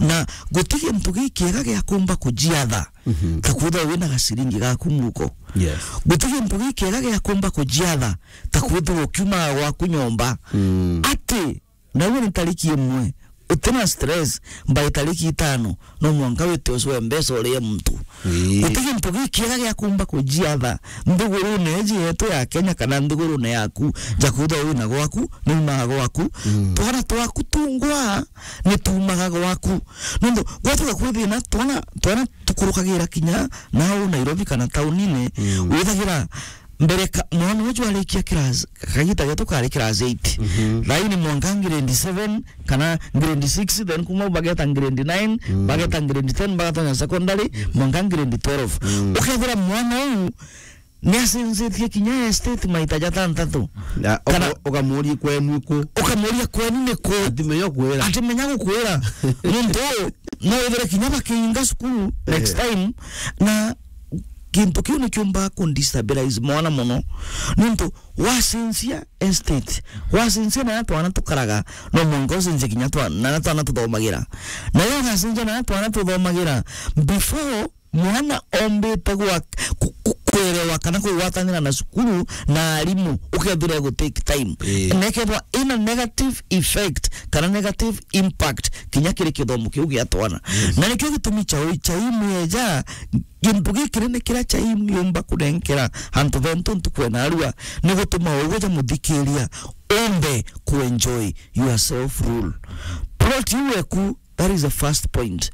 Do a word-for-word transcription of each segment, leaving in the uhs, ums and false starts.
Na guti gintu gikiega gia kumba kujiatha, mhm, ta kwithirwa wina gaciringi gaku muko. Yes. Guti gintu gikiega gia kumba kujiatha, ta kwithirwa ukiumaga gwaku nyomba. Mm. Ati, nawe ni tariki imwe, utina stress, by tariki itano, no mwanka wite ucwe mbeca urie muntu. Ii. Guti gintu gikiega gia kumba kujiatha nthigurune iji yetu ya Kenya kana nthigurune yaku, ja kwithirwa wina gwaku, niumaga gwaku. Mm. Twana twaku tungwa, ni tuumaga gwaku. Nontu gwatuka kwi thina, twana, twana tukurukagira kinya nau Nairobi kana taunine, mm, withagira mbere ka, mwana uju arikia class, kagita getu kari class eight. Mhm. Thaini mwanka grade seven, kana grade six, then kuma bageta grade nine, mm, bageta grade ten, bagatonya secondary, mm, mwanka grade twelve. Mm. Ukethira mwana uu niacenjetie kinya estate maita jatantatu. Na kana uka-, ukamuria kwenu iku? Ukamuria kwenu ni ku? Atimenya kwira. Atimenya gukwira. Nontu no withire kinya bakiinga cukuru next, eh, time, na gintu kiu nikiumbaga kundestabilize mwana mono. Nontu wacenjia estate, wacenjia na twana tukaraga, no mwanka ucenjie kinya twa-, na twana tuthomagira. Na yo ugacenjia na twana tuthomagira, before mwana ombite gwa-, ku-, ku-, kwerewa kana kugwatanira na cukuru na arimu, ukethira gu take time. Ii. Na ikethwa ina negative effect kana negative impact kinya kiri kithomo kiu gia twana. Yes. Na nikio gitumi cha ui cha imweja, gintu gikinene kiria cha imiumba kunenkera antu bentu ntuku ena arua, ni gutuma uguo ja muthikiria umbe ku enjoy your self rule. Plot iu eku, that is the first point.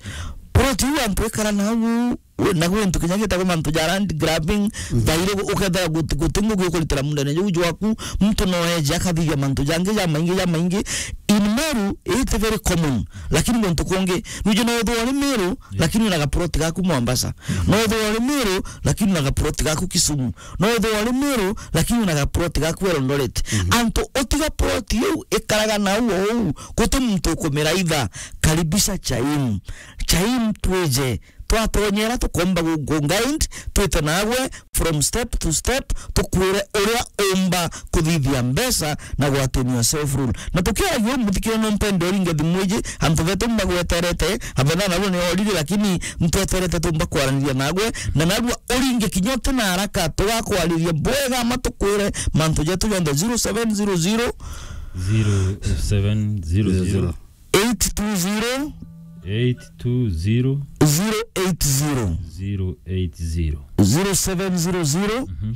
Plot iu antu ikara nau, we, na gwi ntu kinya gitagwa mantu ja land grabbing, mhm, thairi gu-, ukethira guti, guti ngugi ukuritira mundene juu jwaku, muntu no eje akathithia mantu jangi jamaingi, jamaingi. In Meru, it very common, lakini guntu kungi, nuju no withirwa uri Meru, yes, lakini wina gaplot gaku Mombasa. Mhm. No withirwa uri Meru, lakini wina gaplot gaku Kisumu. No withirwa uri Meru, lakini wina gaplot gaku Eldoret. Mhm. Antu utiga plot iu ikaraga nau ou, guti muntu ukumiraitha. Karibisha Chaim. Chaim twije, twatonyera tukomba gu-, gu guide, twite nagwe from step to step, tukwire uria umba kuthithia mbeca na gwatania self rule. Na tukiaragia uu, muthikire, no mpende uringe thimu iji, antu betu mbagweterete, abena nabo ni orire, lakini ntweterete tumba kwaraniria nagwe, na narua uringe kinya uti na haraka, tugakwariria bwega, ama tukwire mantu jetu jonthe. Zero seven zero zero, zero seven zero zero, eight two zero, eight two zero, zero eight zero, zero eight zero, zero seven zero zero, mhm,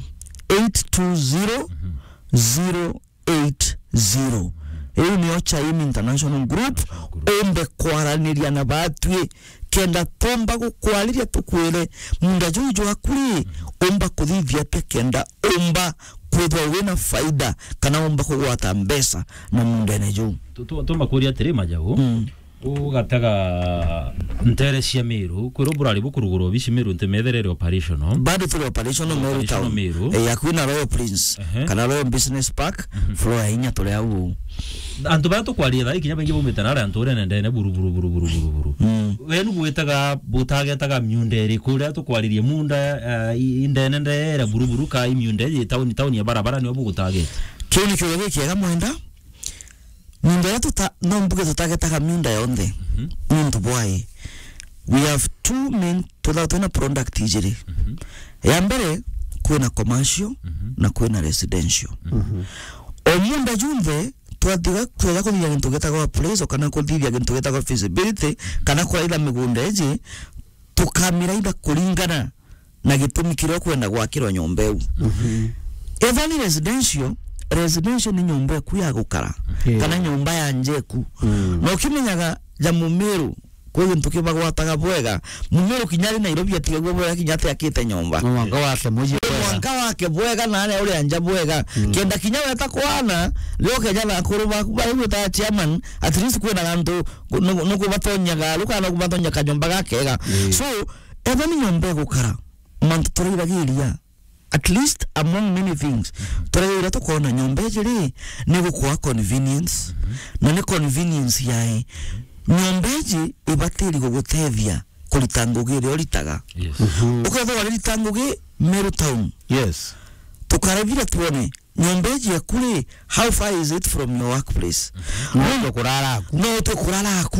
eight two zero, mhm, zero eight zero. Iu niyo Chaim International Group. Group. Umbe kwaraniria na batwi, kenda tumba gukwariria tukwire munda juu jwaku ri, umba kuthithia atia kenda umba kwithwa wina faida kana umba kugwata mbeca na mundene juu. Tu-, tu-, tumba kuria atiri, Majau. Mm. Ugatega ntere cia Meru, kwirwo burari bukurugura obici Meru ntimetherere operational. Bado turi operational Meru. Operational town. Meru. Eh, ya kwina Royal Prince, ehe, kana Royal Business Park, mhm, floor ya inya turi au. Antu baria tukwariria thaa ii kinya baingi baumite nari antu uria nendene buru, buru, buru, buru, buru, buru. Mm. We nu gwitaga, butagetaga miunda iriku riria tukwaririe munda, eh, i-, indene ndere buru, buru, ka i miunda iji tauni, tauni ya barabara nio bugutageta? Kiu ni kiuria gikiega Mwenda. Miunda iria tuta-, no mbuge tutagetaga miunda yonthe. Mhm. Nontu bwai, we have two main, twithaga twina product ijiri. Mhm. Ya mbere, kwina commercial, mhm, na kwina residential. Mhm. O miunda junthe, twatiga, tweja kuthithia gintu gitagwa appraisal, kana kuthithia gintu gitagwa feasibility, kana kuraitha migunda iji, tukamiraitha kuringana na gitumi kiria ukwenda gwakirwa nyomba iu. Mhm. Ethwa ni residential, residential ni nyomba eku ya gukara, yes, kana nyomba ya nja eku. Mm. Na ukimenyaga ja Mumiru, kwi gintu kibagwataga bwega. Mumiru kinya ari Nairobi atigagua bwega kinya atiakite nyomba. No mwanka wake muji bwega. Mwanka wake bwega na aria uria nja bwega. Mm. Kenda kinya weta kwana, rio keja na akuru baku, bari gwita chairman, at least kwina gantu, nu-, nukubatonyaga, rukana nukubatonyaga kanyomba gakega. Mm. So, ethwa ni nyomba egukara, mantu turaithagiria, at least among many things, turaithagiria tukona nyomba iji ri, ni gukwa convenience, mhm, na ni convenience yai. Nyomba iji ibatiri gugutethia kurita ngugi iria uritaga. Yes. Mhm. Ukethirwa uririta ngugi Meru town. Yes. Tukarevira tuone, nyomba iji yaku ri, how far is it from your workplace? No utwe kurara aku. No utwe kurara aku.